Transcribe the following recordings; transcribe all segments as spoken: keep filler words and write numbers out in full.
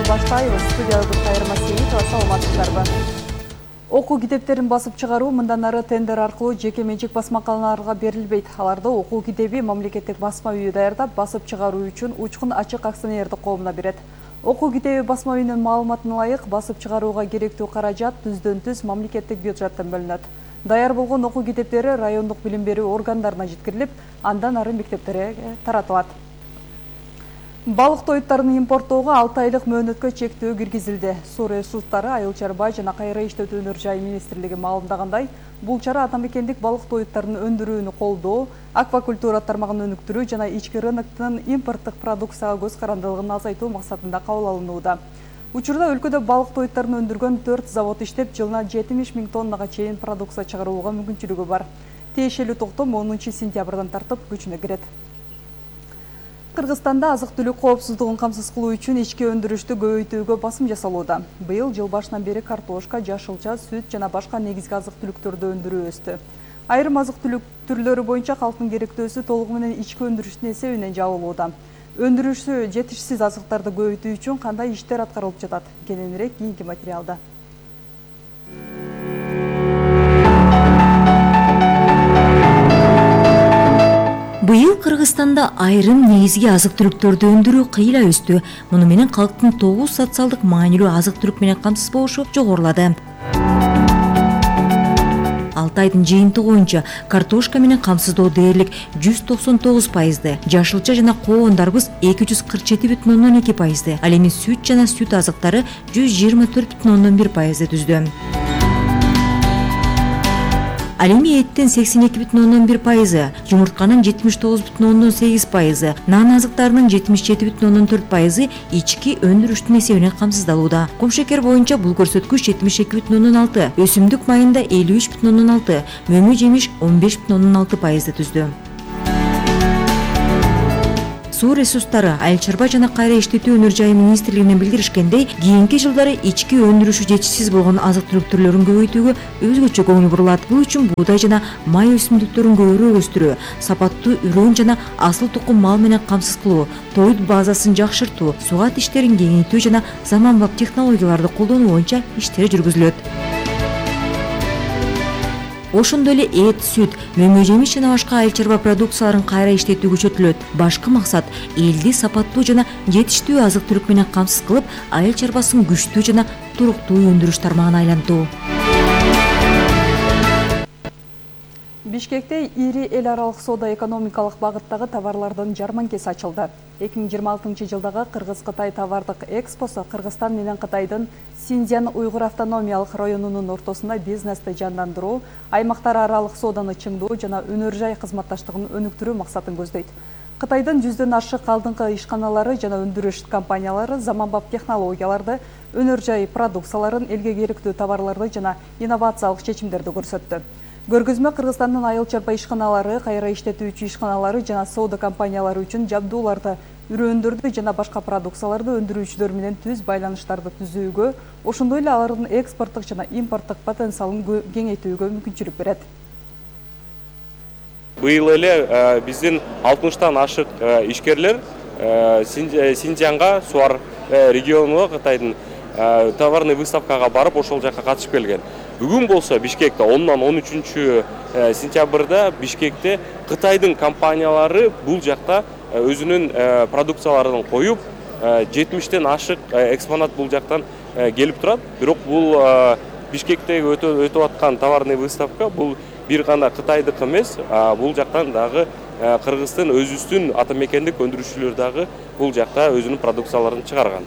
баштайбыз. Студиябыз Кайрма Сейитова, саламатсыздарбы? Окуу китептерин басып чыгаруу мындан ары тендер аркылуу жеке менчик басмаканаларга берилбейт. Аларды окуу китеби мамлекеттик басма үйү даярдап, басып чыгаруу үчүн Учкун ачык акционердик коомуна берет. Окуу китеби басма үйүнүн маалыматына ылайык, басып чыгарууга керектүү каражат түздөн түз мамлекеттик бюджеттен бөлүнөт. Даяр болгон окуу китептери райондук билим берүү органдарына жеткирилип, андан ары мектептерге таратылат. Балык тоюттарын импорттоого алты айлык мөөнөткө чектөө киргизилди. Суу ресурстары, Айыл чарба жана кайра иштетүү өнөр жай министрлиги маалымдагандай, бул чара ата мекендик балык тоюттарын өндүрүүнү колдоо, аквакультура тармагын өнүктүрүү жана ички рыноктун импорттук продукцияга көз карандылыгын азайтуу максатында кабыл алынууда. Учурда өлкөдө балык тоюттарын өндүргөн төрт завод иштеп, жылына жетимиш миң тоннага чейин продукция чыгарууга мүмкүнчүлүгү бар. Тиешелүү токтом онунчу сентябрдан тартып күчүнө кирет. Кыргызстанда азык-түлүк коопсуздугун камсыз кылуу үчүн ички өндүрүштү көбөйтүүгө басым жасалууда. Быйыл жыл башынан бери картошка, жашылча, сүт жана башка негизги азык-түлүктөрдү өндүрүү өстү. Айрым азык-түлүк түрлөрү боюнча калктын керектөөсү толугу менен ички өндүрүштүн эсебинен жабылууда. Өндүрүшү жетишсиз азыктарды көбөйтүү үчүн кандай иштер аткарылып жатат? Кененирээк кийинки материалда. Быйыл Кыргызстанда айрым негизги азык-түлүктөрдү өндүрүү кыйла өстү. Муну менен калктын тогуз социалдык маанилүү азык-түлүк менен камсыз болушу жогорулады. алты айдын жыйынтыгы боюнча картошка менен камсыздоо дээрлик жүз токсон тогуз пайызды, жашылча жана коондарбыз эки жүз кырк жети бүтүн ондон эки пайызды, ал эми сүт жана сүт азыктары жүз жыйырма төрт бүтүн ондон бир пайызды түздү. Ал эми эттен сексен эки бүтүн ондон бир пайызы, жумуртканын жетимиш тогуз бүтүн ондон сегиз пайызы, нан азыктарынын жетимиш жети бүтүн ондон төрт пайызы ички өндүрүштүн эсебинен камсыздалууда. Кумшекер боюнча бул көрсөткүч жетимиш эки бүтүн ондон алты, өсүмдүк майында элүү үч бүтүн ондон алты, мөмө жемиш он беш бүтүн ондон алты пайызды түздү. Суу ресурстары, Айыл чарба жана кайра иштетүү өнөр жайы министрлигинен билдиришкендей, кийинки жылдары ички өндүрүшү жетишсиз болгон азык-түлүк түрлөрүн көбөйтүүгө өзгөчө көңүл бурулат. Бул үчүн буудай жана май өсүмдүктөрүн көбүрөөк өстүрүү, сапаттуу үрөөн жана асыл тукум мал менен камсыз кылуу, тоют базасын жакшыртуу, сугат иштерин кеңейтүү жана заманбап технологияларды колдонуу боюнча иштер жүргүзүлөт. Ошондой эле эт, сүт, мөмө жемиш жана башка айыл чарба продукцияларын кайра иштетүү күчөтүлөт. Башкы максат элди сапаттуу жана жетиштүү азык-түлүк менен камсыз кылып, айыл чарбасын күчтүү жана туруктуу өндүрүш тармагына айлантуу. Бишкекте ири эл аралык соода экономикалык багыттагы товарлардын жарманкеси ачылды. эки миң жыйырма алтынчы жылдагы Кыргыз-Кытай товардык экспосу Кыргызстан менен Кытайдын Синьцзян уйгур автономиялык районунун ортосунда бизнести жандандыруу, аймактар аралык сооданы чыңдоо жана өнөр жай кызматташтыгын өнүктүрүү максатын көздөйт. Кытайдын жүздөн ашык алдыңкы ишканалары жана өндүрүш компаниялары заманбап технологияларды, өнөр жай продукцияларын, элге керектүү товарларды жана инновациялык чечимдерди көрсөттү. Көргөзмө Кыргызстандын айыл чарба ишканалары, кайра иштетүүчү ишканалары жана соода компаниялары үчүн жабдууларды, үрөөндөрдү жана башка продукцияларды өндүрүүчүлөр менен түз байланыштарды түзүүгө, ошондой эле алардын экспорттук жана импорттук потенциалын кеңейтүүгө мүмкүнчүлүк берет. Быйыл эле биздин алтымыштан ашык ишкерлер Синьцзянга, Суар регионуна, Кытайдын товарный выставкага барып, ошол жака катышып келген. Бүгүн болсо Бишкекте ондан он үчүнчү сентябрда Бишкекте Кытайдын компаниялары бул жакта өзүнүн продукцияларын коюп, жетимиштен ашык экспонат бул жактан келип турат. Бирок бул Бишкектеги өтүп аткан товарный выставка бул бир гана Кытайдык эмес, бул жактан дагы Кыргыздын өзүбүздүн ата мекендик өндүрүүчүлөр дагы бул жакта өзүнүн продукцияларын чыгарган.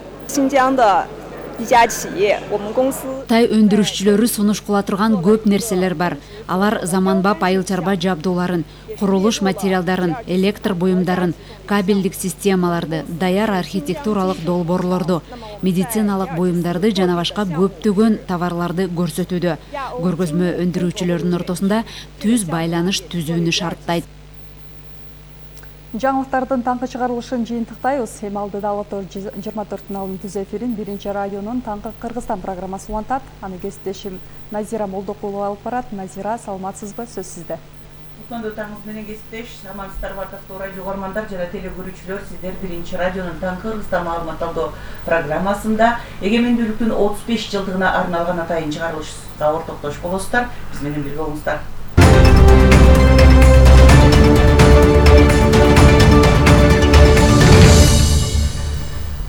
Тай өндүрүшчүлөрү сунуш кыла турган көп нерселер бар. Алар заманбап айыл чарба жабдууларын, курулуш материалдарын, электр буюмдарын, кабелдик системаларды, даяр архитектуралык долбоорлорду, медициналык буюмдарды жана башка көптөгөн товарларды көрсөтүүдө. Көргөзмө өндүрүүчүлөрдүн ортосунда түз байланыш түзүүнү шарттайт. Жаңылыктардын таңкы чыгарылышын жыйынтыктайбыз. Эми алдыда Алатор жыйырма төрттүн алдын түз эфирин биринчи радионун таңкы Кыргызстан программасы улантат. Аны кесиптешим Назира Молдокулова алып барат. Назира, саламатсызбы? Сөз сизде. Кутмандуу таңыңыз менен кесиптеш, амансыздарбы ардактуу радио угармандар жана телекөрүүчүлөр. Сиздер биринчи радионун Таң Кыргызстан маалымат алуу программасында эгемендүүлүктүн отуз беш жылдыгына арналган атайын чыгарылышка ортоктош болосуздар. Биз менен бирге болуңуздар.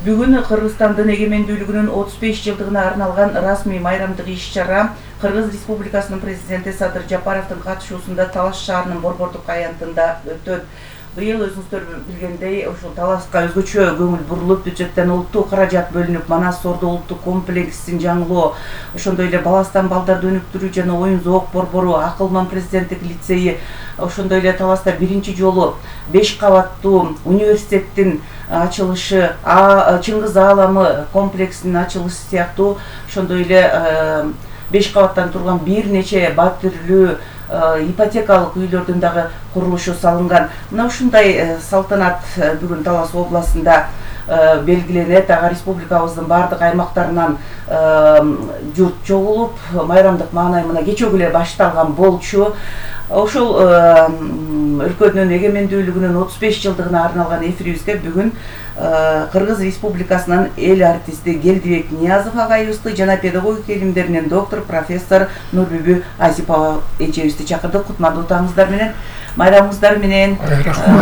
Бүгүн Кыргызстандын эгемендүүлүгүнүн отуз беш жылдыгына арналган расмий майрамдык иш-чара Кыргыз Республикасынын президенти Садыр Жапаровдун катышуусунда Талас шаарынын Борбордук аянтында өтөт. Быйыл өзүңүздөр билгендей, ушул Таласка өзгөчө көңүл бурулуп, бюджеттен улуттук каражат бөлүнүп, Манас Сордо улуттук комплексин жаңылоо, ошондой эле баластан балдарды өнүктүрүү жана оюн зоок борбору, Акылман президенттик лицейи, ошондой эле Таласта биринчи жолу беш кабаттуу университеттин ачылышы, Чыңгыз Ааламы комплексинин ачылышы сыяктуу ошондой эле беш кабаттан турган бир нече батирлүү ипотекалык үйлөрдүн дагы курулушу салынган. Мына ушундай салтанат бүгүн Талас областында белгиленет. Ага республикабыздын бардык аймактарынан журт чогулуп, майрамдык маанай мына кечеге эле башталган болчу. Ошол өлкөнүн эгемендүүлүгүнүн отуз беш жылдыгына арналган эфирибизге бүгүн Кыргыз Республикасынын эл артисти Келдибек Ниязов агайыбызды жана педагогика илимдеринин доктор профессор Нурбүбү Азипова эжебизди чакырдык. Кутмандуу таңыңыздар менен, майрамыңыздар менен.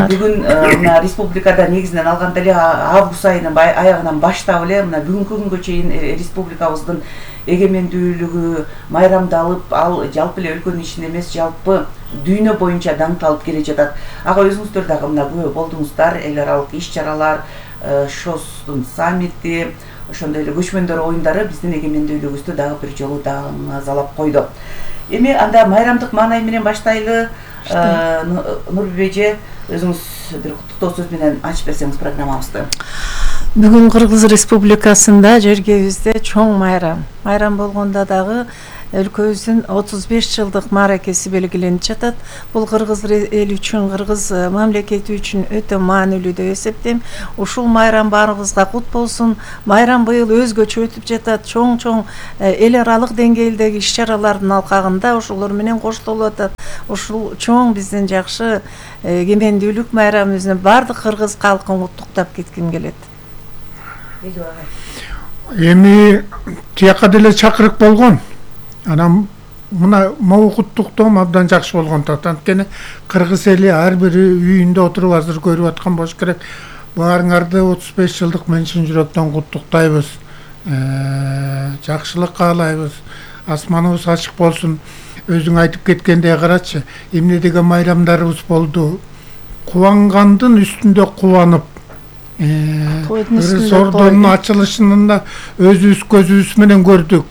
Бүгүн мына республикада негизинен алганда эле август айынын аягынан баштап эле мына бүгүнкү күнгө чейин республикабыздын эгемендүүлүгү майрамдалып, ал жалпы эле өлкөнүн ичинде эмес, жалпы дүйнө боюнча даңкталып келе жатат. Ага өзүңүздөр дагы мына күбө болдуңуздар. Эл аралык иш-чаралар, ШОСтун саммити, ошондой эле көчмөндөр оюндары биздин эгемендүүлүгүбүздү дагы бир жолу даңазалап койду. Эми анда майрамдык маанай менен баштайлы. Нурбүбү эже, өзүңүз бир куттуктоо сөз менен ачып берсеңиз программабызды. Бүгүн Кыргыз Республикасында жергебизде чоң майрам. Майрам болгондо дагы өлкөбүздүн отуз беш жылдык мааракеси белгиленип жатат. Бул кыргыз эли үчүн, кыргыз мамлекети үчүн өтө маанилүү деп эсептейм. Ушул майрам баарыбызга кут болсун. Майрам быйыл өзгөчө өтүп жатат. Чоң-чоң эл аралык деңгээлдеги иш-чаралардын алкагында ошолор менен коштолуп атат. Ушул чоң биздин жакшы эгемендүүлүк майрамыбызды бардык кыргыз калкын куттуктап кетким келет. Эми тияка деле чакырык болгон. Анан мына могу куттуктоом абдан жакшы болгон тат. Анткени кыргыз эли ар бири үйүндө отуруп азыр көрүп аткан болуш керек. Баарыңарды отуз беш жылдык мен чын жүрөктөн куттуктайбыз. Жакшылык каалайбыз. Асманыбыз ачык болсун. Өзүң айтып кеткендей карачы, эмне деген майрамдарыбыз болду. Кубангандын үстүндө кубанып, Сордонун ачылышын да өзүбүз көзүбүз менен көрдүк.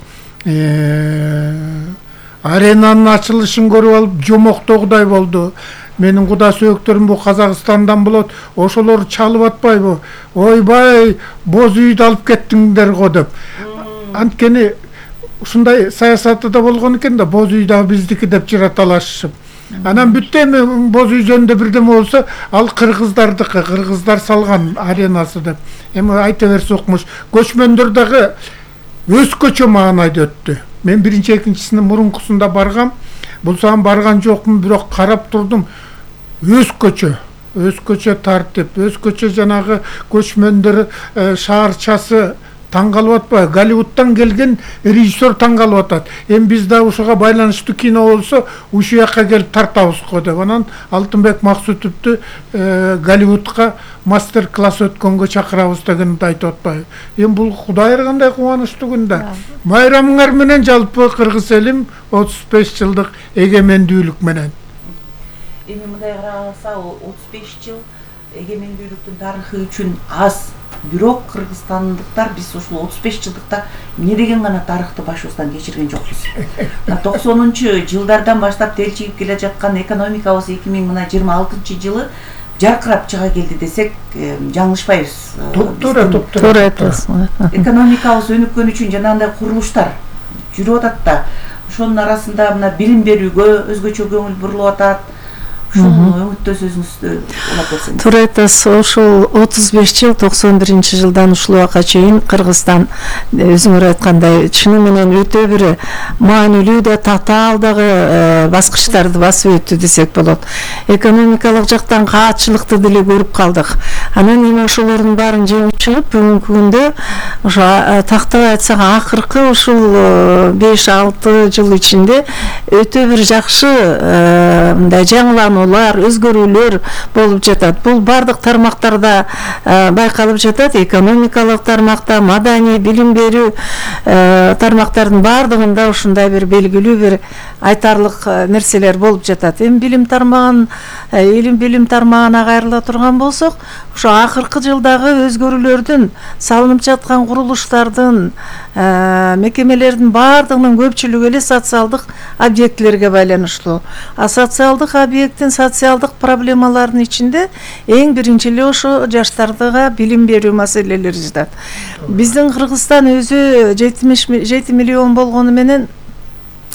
Аренанын ачылышын көрүп алып жомоктогудай болду. Менин куда сөөктөрүм бу Казакстандан болот. Ошолор чалып атпайбы? Ойбай, боз үйдү алып кеттиңдер го деп. Анткени ушундай саясаты да болгон экен да, боз үй дагы биздики деп жыраталашып. Анан бүтө эми боз үй жөнүндө бирдеме болсо, ал кыргыздардыкы, кыргыздар салган аренасы деп. Эми айта берсе укмуш. Көчмөндөр дагы өзгөчө маанайда өттү. Мен биринчи экинчисинин мурункусунда баргам. Булсам барган жокмун, бирок карап турдум. Өзгөчө, өзгөчө тартип, өзгөчө жанагы көчмөндөр шаарчасы таң калып атпайбы? Голливудтан келген режиссер таң калып атат. Эми биз да ушуга байланыштуу кино болсо, ушул жака келип тартабыз го деп. Анан Алтынбек Максутовду Голливудка мастер-класс өткөнгө чакырабыз дегенди айтып атпайбы? Эми бул Кудай кандай кубанычтуу күн да. Майрамыңар менен жалпы кыргыз элим отуз беш жылдык эгемендүүлүк менен. Эми мындай караса, отуз беш жыл эгемендүүлүктүн тарыхы үчүн аз. Бирок кыргызстандыктар биз ушул отуз беш жылдыкта эмне деген гана тарыхты башыбыздан кечирген жокпуз. токсонунчу жылдардан баштап телчигип келе жаткан экономикабыз эки миң жыйырма алтынчы жылы жаркырап чыга келди десек, жаңылышпайбыз. Туура, туура айтасыз. Экономикабыз өнүккөн үчүн жанагындай курулуштар жүрүп атат да. Ошонун арасында мына билим берүүгө өзгөчө көңүл бурулуп атат. ушуну үмүттө сөзүңүздү улап берсеңиз. Туура айтасыз. Ошол отуз беш жыл токсон биринчи жылдан ушул убакка чейин Кыргызстан өзүңөр айткандай чыны менен өтө бир маанилүү да татаал дагы баскычтарды басып өттү десек болот. Экономикалык жактан каатчылыкты деле көрүп калдык. Анан эми ошолордун баарын жеңип чыгып бүгүнкү күндө ошо тактап айтсак акыркы ушул беш алты жыл ичинде өтө бир жакшы мындай жаңылануулар, өзгөрүүлөр болуп жатат. Бул бардык тармактарда байкалып жатат. Экономикалык тармакта, маданий, билим берүү тармактардын бардыгында ушундай бир белгилүү бир айтарлык нерселер болуп жатат. Эми билим тармагын, илим билим тармагына кайрыла турган болсок, ошо акыркы жылдагы өзгөрүүлөрдүн, салынып жаткан курулуштардын, мекемелердин бардыгынын көпчүлүгү эле социалдык объектилерге байланыштуу. А социалдык объекттин социалдык проблемаларынын ичинде эң биринчи эле ошо жаштарга билим берүү маселелери жатат. Биздин Кыргызстан өзү жети миллион болгону менен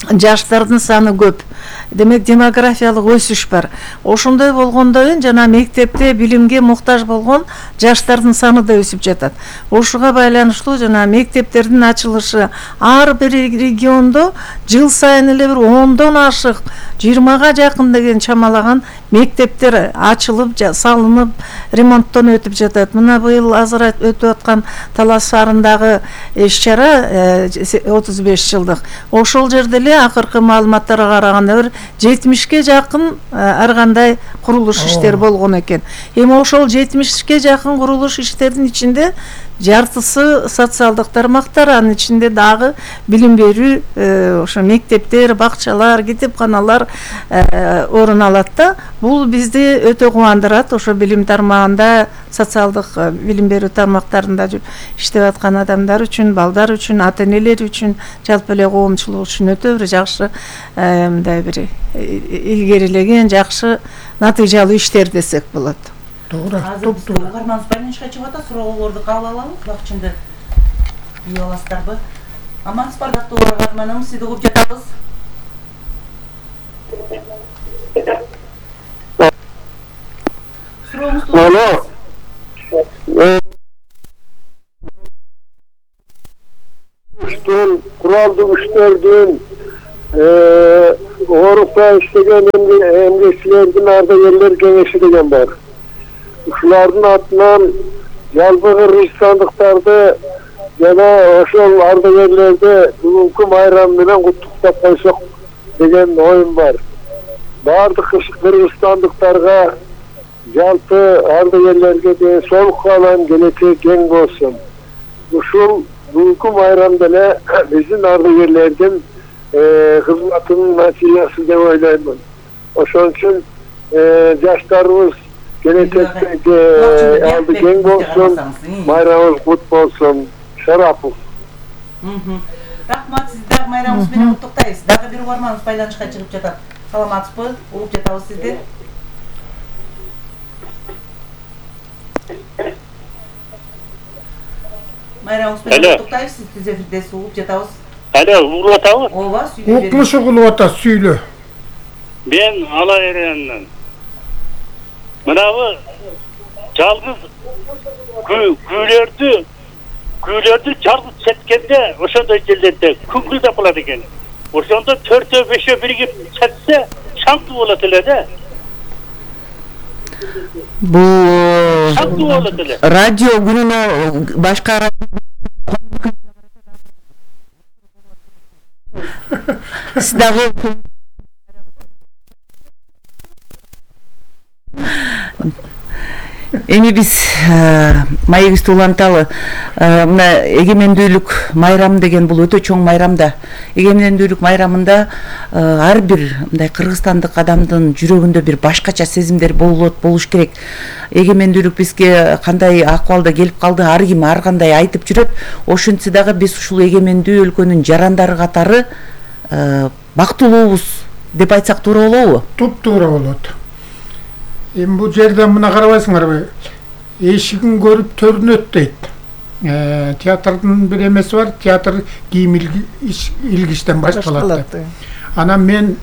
жаштардын саны көп. Демек демографиялык өсүш бар. Ошондой болгондо жана мектепте билимге муктаж болгон жаштардын саны да өсүп жатат. Ошуга байланыштуу жана мектептердин ачылышы ар бир региондо жыл сайын эле бир ондон ашык, жыйырмага жакын деген чамалаган мектептер ачылып, салынып, ремонттон өтүп жатат. Мына быйыл азыр өтүп аткан Талас шаарындагы иш-чара отуз беш жылдык. Ошол жерде эле акыркы маалыматтарга караганда бир жетимишке жакын ар кандай курулуш иштер болгон экен. Эми ошол жетимишке жакын курулуш иштердин ичинде жартысы социалдык тармактар, анын ичинде дагы билим берүү, ошо мектептер, бакчалар, кетепканалар орун алат да. Бул бизди өтө кубандырат. Ошо билим тармагында, социалдык билим берүү тармактарында иштеп аткан адамдар үчүн, балдар үчүн, ата-энелер үчүн, жалпы эле коомчулук үчүн өтө бир жакшы, мындай бир илгерилеген, жакшы натыйжалуу иштер десек болот. Азыр биз угарманыбыз байланышка чыгып атат, суроолорду кабыл алалы, убакчында үй аласыздарбы? Амансыз бардактуу угарманыбыз, сизди угуп жатабыз. Сурооңузду Алло. Куралдуу күчтөрдүн оорукта иштеген эмгекчилердин ардагерлер кеңеши деген бар. Ушулардын атынан жалпы кыргызстандыктарды жана ошол ардагерлерди бүгүнкү майрам менен куттуктап койсок деген оюм бар. Бардык кыргызстандыктарга, жалпы ардагерлерге ден соолук каалайм, келечек кең болсун. Ушул бүгүнкү майрамда эле биздин ардагерлердин кызматынын натыйжасы деп ойлоймун. Ошон үчүн жаштарыбыз келечекте алды кең болсун, майрамыбыз кут болсун. Шарапов. Рахмат, сизди дагы майрамыңыз менен куттуктайбыз. Дагы бир угарманыбыз байланышка чыгып жатат. Саламатсызбы? Угуп жатабыз сизди. Майрамыңыз менен куттуктайбыз, сизди эфирдесиз, угуп жатабыз. Алло, угуп атабы? Ооба, сүйлөп бериңиз. Укмушу кылып атат, сүйлө. Мен ала эренмин. Мынабы жалгыз күүлөрдү күүлөрдү жалгыз четкенде ошондой жерлерде күңкүлдөп калат экен. Ошондо төртөө бешөө биригип четсе шаңтуу болот эле да. Бул Шаңтуу болот эле. радио күнүнө башка сдагы эми биз маегибизди уланталы. Мына эгемендүүлүк майрамы деген бул өтө чоң майрам да. Эгемендүүлүк майрамында ар бир мындай кыргызстандык адамдын жүрөгүндө бир башкача сезимдер болот, болуш керек. Эгемендүүлүк бизге кандай акыбалда келип калды, ар ким ар кандай айтып жүрөт. Ошентсе дагы биз ушул эгемендүү өлкөнүн жарандары катары бактылуубуз деп айтсак туура болобу? Туп-туура болот. Эми бул жерден мына карабайсыңарбы? Эшигин көрүп төрүнөт дейт. Театрдын бир эмеси бар, театр кийим илгичтен башталат. Анан мен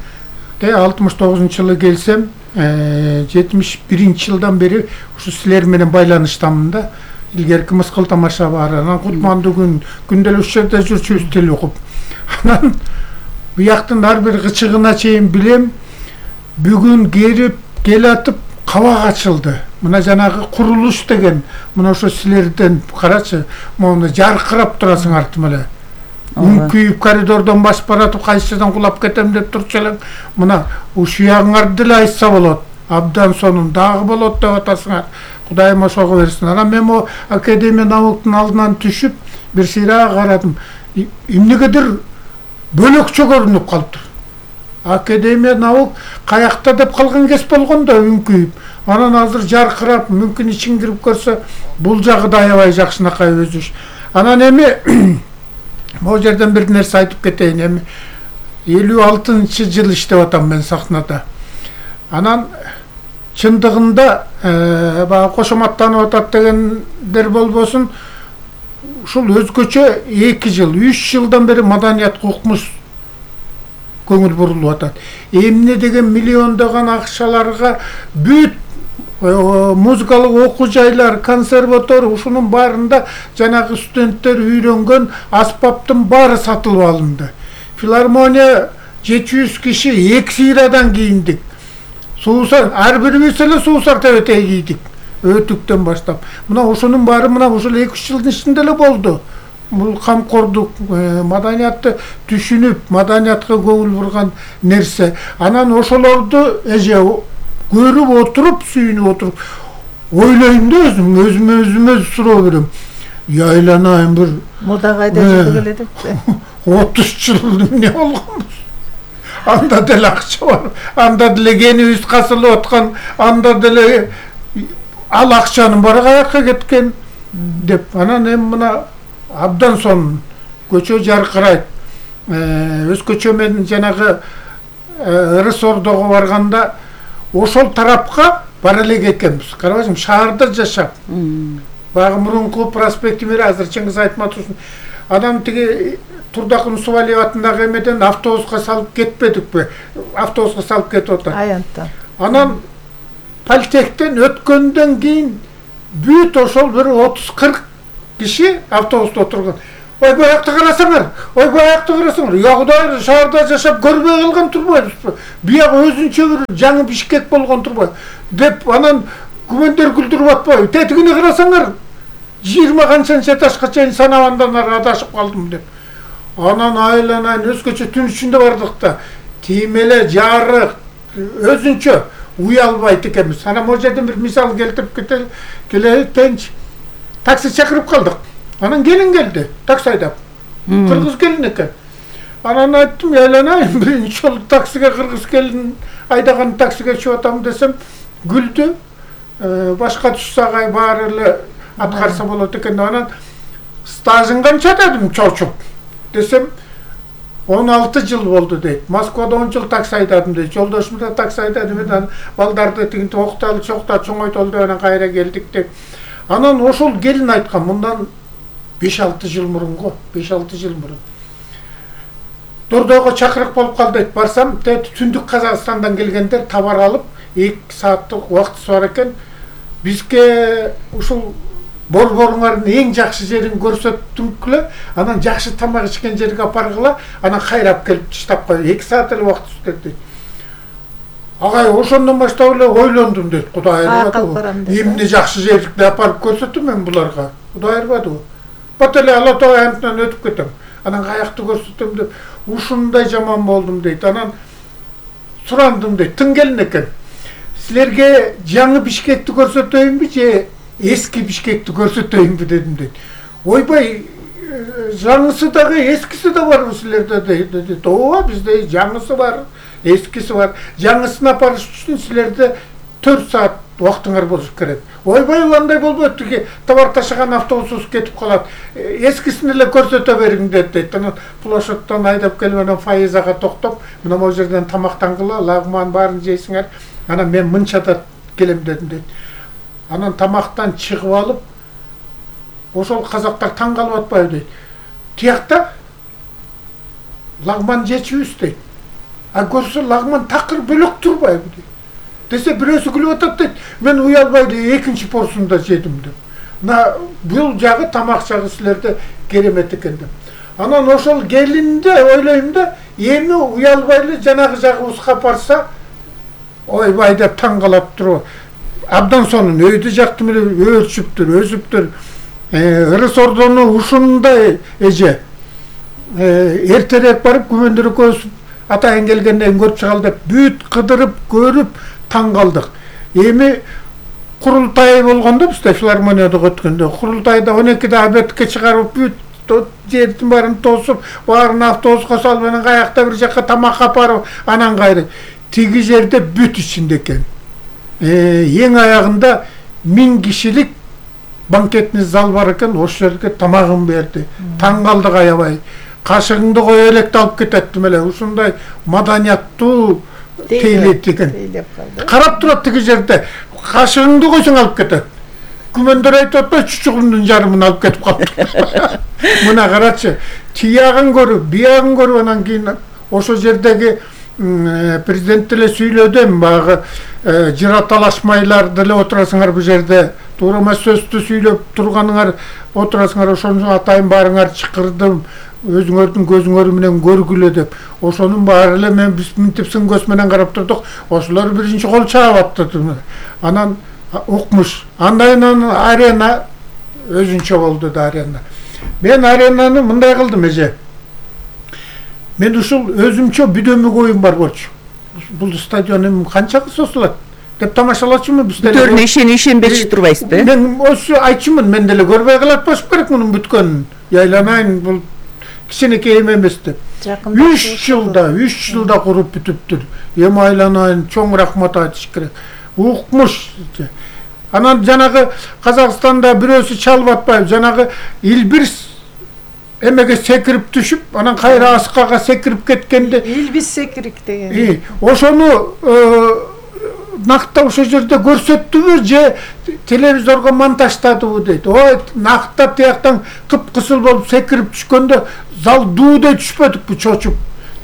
алтымыш тогузунчу жылы келсем, жетимиш биринчи жылдан бери ушу силер менен байланыштамын да. Илгерки мыскыл тамаша бар, анан кутмандуу күн күндөлүк жерде жүрчүбүз тил угуп. Анан бияктын ар бир кычыгына чейин билем. Бүгүн келип келатып кабак ачылды. Мына жанагы курулуш деген, мына ошо силерден карачы, мону жаркырап турасың артым эле. Үңкүйүп коридордон басып баратып кайсыдан кулап кетем деп турчу элең. Мына ушуягыңарды деле айтса болот. Абдан сонун дагы болот деп атасыңар. Кудайым ошого берсин. Анан мен о Академия науктун алдынан түшүп, бир сыйра карадым. Эмнегедир бөлөкчө көрүнүп калыптыр. Академия наук каякта деп калган кез болгон да үңкүйүп. Анан азыр жаркырап, мүмкүн ичин кирип көрсө, бул жагы да аябай жакшынакай өзүш. Анан эми могу жерден бир нерсе айтып кетейин. Эми элүү алтынчы жыл иштеп атам мен сахнада. Анан чындыгында баягы кошоматтанып атат дегендер болбосун, ушул өзгөчө эки жыл, үч жылдан бери маданиятка укмуш көңүл бурулуп атат. Эмне деген миллиондогон акчаларга бүт музыкалык окуу жайлар, консерватор, ушунун баарында жанагы студенттер үйрөнгөн аспаптын баары сатылып алынды. Филармония жети жүз киши эки сыйрадан кийиндик. Суусар, ар бирибиз эле суусар тебетей кийдик. Өтүктөн баштап. Мына ошонун баары мына ушул эки үч жылдын ичинде эле болду. Бул камкордук, маданиятты түшүнүп, маданиятка көңүл бурган нерсе. Анан ошолорду эже көрүп отуруп, сүйүнүп отуруп, ойлойм да өзүм, өзүмө өзүмө суроо берем. Яйланайын бир мода кайда жүрүп келет? отуз жыл эмне болгонбуз? Анда деле акча бар, анда деле кенибиз касылып аткан, анда деле ал акчанын баары каякка кеткен деп. Анан эми мына абдан сонун көчө жаркырайт. Өзгөчө мен жанагы Ырыс Ордого барганда ошол тарапка бара элек экенбиз. Карабайсың, шаарда жашап. Багы мурунку проспект мери азыр Чыңгыз Айтматовдун адам тиги Турдакын Усубалиев атындагы эмеден автобуска салып кетпедикпи? Автобуска салып кетип атат. Аянттан. Анан Политехтен өткөндөн кийин бүт ошол бир отуз кырк киши автобуста отурган. Ой, баякты карасаңар, ой, баякты карасаңар. Я Кудай, шаарда жашап көрбөй калган турбайбызбы? Бияк өзүнчө бир жаңы Бишкек болгон турбайбы? Деп анан күмөндөр күлдүрүп атпайбы? Тетигине карасаңар, жыйырма канчанча этажга чейин санабандан ары адашып калдым деп. Анан айланайын өзгөчө түн ичинде бардык да. Тим эле жарык, өзүнчө уялбайт экенбиз. Анан могу жерден бир мисал келтирип кетели, келетенчи. Такси чакырып калдык. Анан келин келди, такси айдап. Кыргыз келин экен. Анан айттым, айланайын, биринчи жолу таксиге кыргыз келин айдаган таксиге чыгып атам десем, күлдү. Башка түшсагай баары эле аткарса болот экен. Анан стажың канча дедим, чочуп. Десем, он алты жыл болду дейт. Москвада он жыл такси айдадым дейт. Жолдошум да такси айдадым. Анан балдарды тигинти окталы чокта чоңойтолду анан кайра келдик деп. Анан ошол келин айткан, мындан беш алты жыл мурунго, беш алты жыл мурун. Дордого чакырык болуп калды дейт. Барсам, түндүк Казакстандан келгендер товар алып, эки сааттык убактысы бар экен. Бизге ушул борборуңардын эң жакшы жерин көрсөттүңкүлө, анан жакшы тамак ичкен жерге апаргыла, анан кайрап келип таштап кой. эки саат эле убакыт өтөт дейт. Агай, ошондон баштап эле ойлондум дейт. Кудай ырбады. Эмне жакшы жерди апарып көрсөттүм мен буларга. Кудай ырбады. Бат эле Ала Тоо аянтынан өтүп кетем. Анан каякты көрсөтөм деп, ушундай жаман болдум дейт. Анан сурандым дейт. Тың келин экен. Силерге жаңы Бишкекти көрсөтөйүнбү же эски Бишкекти көрсөтөйүнбү дедим дейт. Ойбай, жаңысы дагы эскиси да барбы силерде дейт. Ооба, бизде жаңысы бар, эскиси бар. Жаңысын апарыш үчүн силерде төрт саат убактыңар болуш керек. Ойбай, андай болбойт, тиги товар ташыган автобусубуз кетип калат. Эскисин эле көрсөтө бериң дейт. Анан Плошоттон айдап келип анан Файызага токтоп, мына могу жерден тамактангыла, лагман баарын жейсиңер. Анан мен мынчада келем дедим дейт. Анан тамактан чыгып алып, ошол казактар таң калып атпайбы дейт. Тиякта лагман жечүбүз дейт. А көрсө лагман такыр бөлөк турбайбы дейт. десе бирөөсү күлүп атат дейт. Мен уялбай экинчи порсунда жедим деп. Мына бул жагы тамак жагы силерде керемет экен деп. Анан ошол келинде ойлойм да, эми уялбай эле жанагы жагыбызга барса, ойбай деп таң калап туруп. Абдан сонун өйдө жактым эле өрчүптүр, өсүптүр. Ырыс ордону ушундай эже. Эртерээк барып күмөндөр өсүп атайын келгенден көрүп чыгалы деп бүт кыдырып көрүп таң калдык. Эми курултай болгондо бизде филармонияда өткөндө курултайда он экиде обедке чыгарып бүт жердин баарын тосуп, баарын автобуска салып, анан каякта бир жакка тамак апарып, анан кайры тиги жерде бүт ичинде экен. Эң аягында миң кишилик банкетный зал бар экен, ошол жерге тамагын берди. Таң калдык аябай. Кашыгыңды кое электе алып кететтим эле. Ушундай маданияттуу тейлет экен. Карап турат тиги жерде. Кашыгыңды койсоң алып кетет. Күмөндөр айтып атпайбы, чучугумдун жарымын алып кетип калды. Мына карачы, тиягын көрүп, биягын көрүп, анан кийин ошол жердеги президент деле сүйлөдүм, багы жыра талашмайлар деле отурасыңар бу жерде. Туура эмес сөздү сүйлөп турганыңар отурасыңар, ошону атайын баарыңар чакырдым. Өзүңөрдүн көзүңөр менен көргүлө деп. Ошонун баары эле мен биз мынтип сын көз менен карап турдук. Ошолор биринчи кол чаап атты. Анан укмуш. Андан арена өзүнчө болду да арена. Мен аренаны мындай кылдым эже. Мен ушул өзүмчө бүдөмүк оюм бар болчу. Бул стадионум канчага созулат деп тамашалачумун биз деле. Бүтөрүнө ишен ишенбечи турбайсызбы? Мен ошо айтчумун, мен деле көрбөй калат болуш керек мунун бүткөнүн. Яйланайын, бул кичинекей эмес деп. үч жылда, үч жылда куруп бүтүптүр. Эми айланайын, чоң рахмат айтыш керек. Укмуш. Анан жанагы Казакстанда бирөөсү чалып атпайбы, жанагы Илбирс эмеге секирип түшүп, анан кайра аскага секирип кеткенде Илбис секирик деген. Ошону накта ошол жерде көрсөттүбү же телевизорго монтаждадыбы дейт. Ой, накта тияктан кып-кызыл болуп секирип түшкөндө зал дуудой түшпөдүк бу чочуп.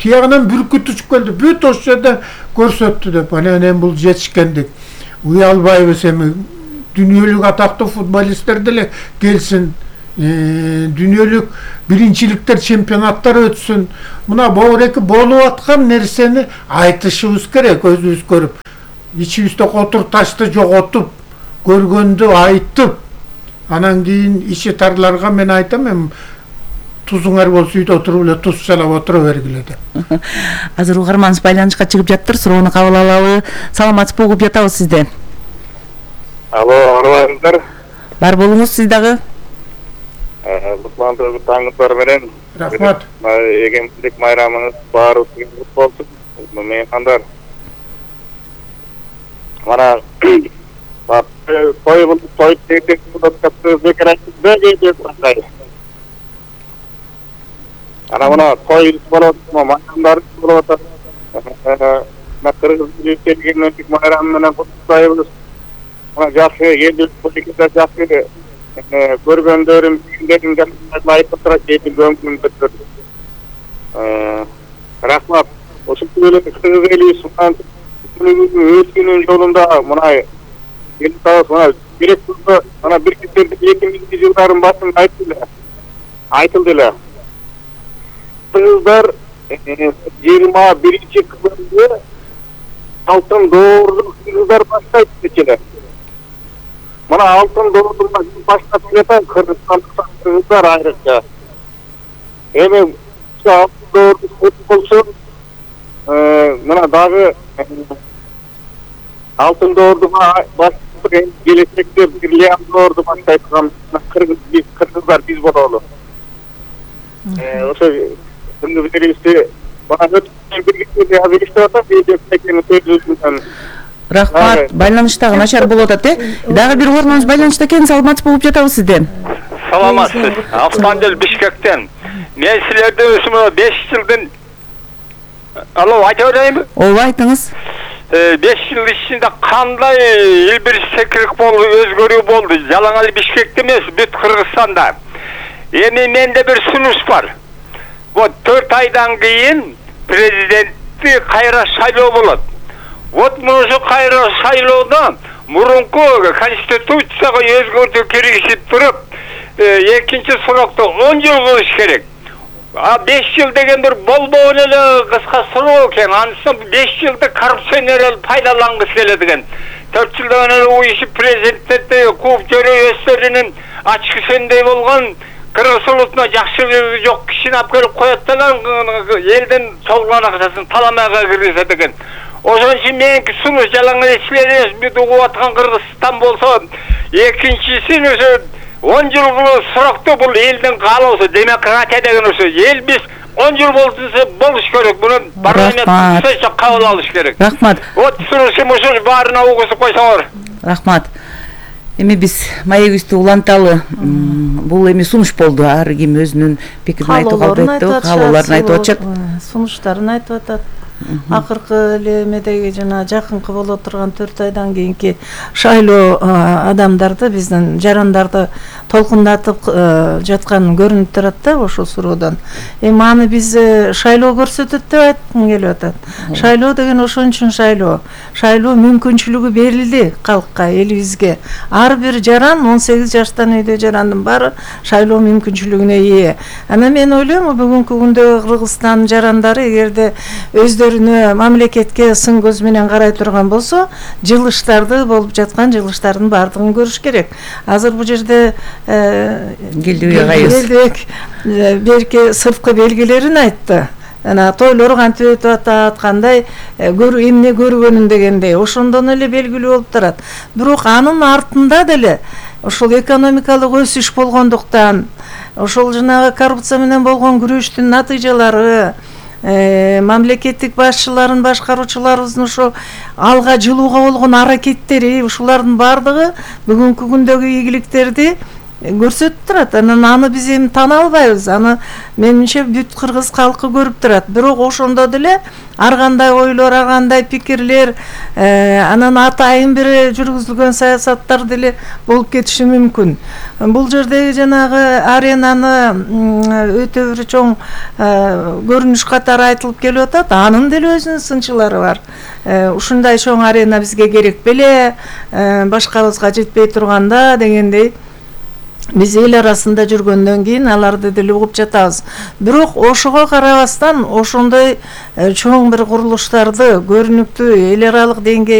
Тиягынан бүркүт түшүп келди. Бүт ошол жерде көрсөттү деп. Анан эми бул жетишкендик. Уялбайбыз эми. Дүйнөлүк атактуу футболисттер деле келсин. Дүйнөлүк биринчиликтер, чемпионаттар өтсүн. Мына боореки болуп аткан нерсени айтышыбыз керек, өзүбүз көрүп. Ичибизде котур ташты жоготуп, көргөндү айтып, анан кийин ичи тарларга мен айтам, эми тузуңар болсо үйдө отуруп эле туз чалап отура бергиле деп. Азыр угарманыбыз байланышка чыгып жаттыр, суроону кабыл алалы. Саламатсызбы, угуп жатабыз сизди. Алло, арбаңыздар. Бар болуңуз сиз дагы. Кутландыруу таңыңыздар менен. Рахмат. Эгемендик майрамыңыз баарыбызга кут болсун. Меймандар. Mana toy toy tek kutlattığımız bekarlık bir şey. Ana buna toy falan mayramlar falan. Na Kırgız ülkelerinin mayramlarına kutlayıyoruz. Ona жақсы geldi politikada жақсы görgöndörüm günlerin gelmesine layık olarak geldi gömgün götürdü. Rahmat. O şekilde Kırgız eliysen Özgünün yolunda mına gelip sağız mına gerek turda mana bir kitlerdi iki mingинчи жылдарын басында айтылды. Айтылды. Кыргыздар жыйырма биринчи кылымда алтын доорду кыргыздар баштайт дечелер. Мына алтын доорду баштап жатат кыргыздар айрыкча. Эми алтын доорду болсо мына дагы алтын доорду баштап келечекте бирлиан доорду баштайт кыргыз биз кыргыздар биз бололу. Ошо күндү билебизди. Бана өткөн бир кезде азыр иштеп атат, биздин көзүбүздөн. Рахмат, байланыштагы начар болуп атат, э? Дагы бир угарманыбыз байланышта экен, саламатсыз болуп жатабыз сизден. Саламатсыз. Автомобиль Бишкектен. Мен силерден өзүмө беш жылдын Алло, айта берейинби? Ооба, айтыңыз. беш жыл ичинде кандай Илбир секирик болду, өзгөрүү болду. Жалаңал Бишкекте эмес, бүт Кыргызстанда. Эми менде бир сунуш бар. Вот төрт айдан кийин президентти кайра шайлоо болот. Вот муну кайра шайлоодо мурунку конституцияга өзгөртүү киргизип туруп, экинчи срокто он жыл кылыш керек. А беш жыл деген бир болбогон эле кыска срок экен. Анысы беш жылды коррупционер пайдалангысы келет экен. төрт жылдан эле уюшуп президентте кууп жөрөй өздөрүнүн ачкы сендей болгон Кыргыз улутуна жакшылыгы жок кишини алып келип коет деле элдин толгон акчасын таламайга киргизет экен. Ошон үчүн меники сунуш жалаң эле бүт угуп аткан Кыргызстан болсо, экинчисин өзү он жыл срокто бул элдин каалоосу, демократия деген ошо. Эл биз он жыл болсо болуш керек. Муну парламент сөзсө кабыл алыш керек. Рахмат. Вот сунушум ушул баарына угузуп койсоңор. Рахмат. Эми биз маегибизди уланталы. Бул эми сунуш болду. Ар ким өзүнүн пикирин айтып калды, каалоолорун айтып атышат. Сунуштарын айтып атат. Акыркы эле эмедеги жана жакынкы боло турган төрт айдан кийинки шайлоо адамдарды, биздин жарандарды толкундатып жатканы көрүнүп турат да ошол суроодон. Эми аны биз шайлоо көрсөтөт деп айткым келип атат. Шайлоо деген ошон үчүн шайлоо. Шайлоо мүмкүнчүлүгү берилди калкка, элибизге. Ар бир жаран, он сегиз жаштан үйдө жарандын баары шайлоо мүмкүнчүлүгүнө ээ. Анан мен ойлойм, бүгүнкү күндө Кыргызстан жарандары эгерде өздөрүнө мамлекетке сын көз менен карай турган болсо, жылыштарды болуп жаткан жылыштардын баардыгын көрүш керек. Азыр бул жерде Келдибек айыбыз берки сырткы белгилерин айтты. Ана тойлор кантип өтүп атат, кандай көрүү эмне көргөнүн дегендей ошондон эле белгилүү болуп турат. Бирок анын артында деле ошол экономикалык өсүш болгондуктан, ошол жанагы коррупция менен болгон күрөштүн натыйжалары, мамлекеттик башчыларын, башкаруучуларыбыздын ошо алга жылууга болгон аракеттери, ушулардын баардыгы бүгүнкү күндөгү ийгиликтерди көрсөтүп турат. Анан аны биз эми тана албайбыз. Аны менимче бүт кыргыз калкы көрүп турат. Бирок ошондо деле ар кандай ойлор, ар кандай пикирлер, анан атайын бир жүргүзүлгөн саясаттар деле болуп кетиши мүмкүн. Бул жердеги жанагы аренаны өтө бир чоң көрүнүш катары айтылып келип атат. Анын деле өзүнүн сынчылары бар. Ушундай чоң арена бизге керек беле, башкабызга жетпей турганда дегендей. Биз эл арасында жүргөндөн кийин аларды деле угуп жатабыз. Бирок ошого карабастан ошондой чоң бир курулуштарды көрүнүктүү эл аралык деңгээлде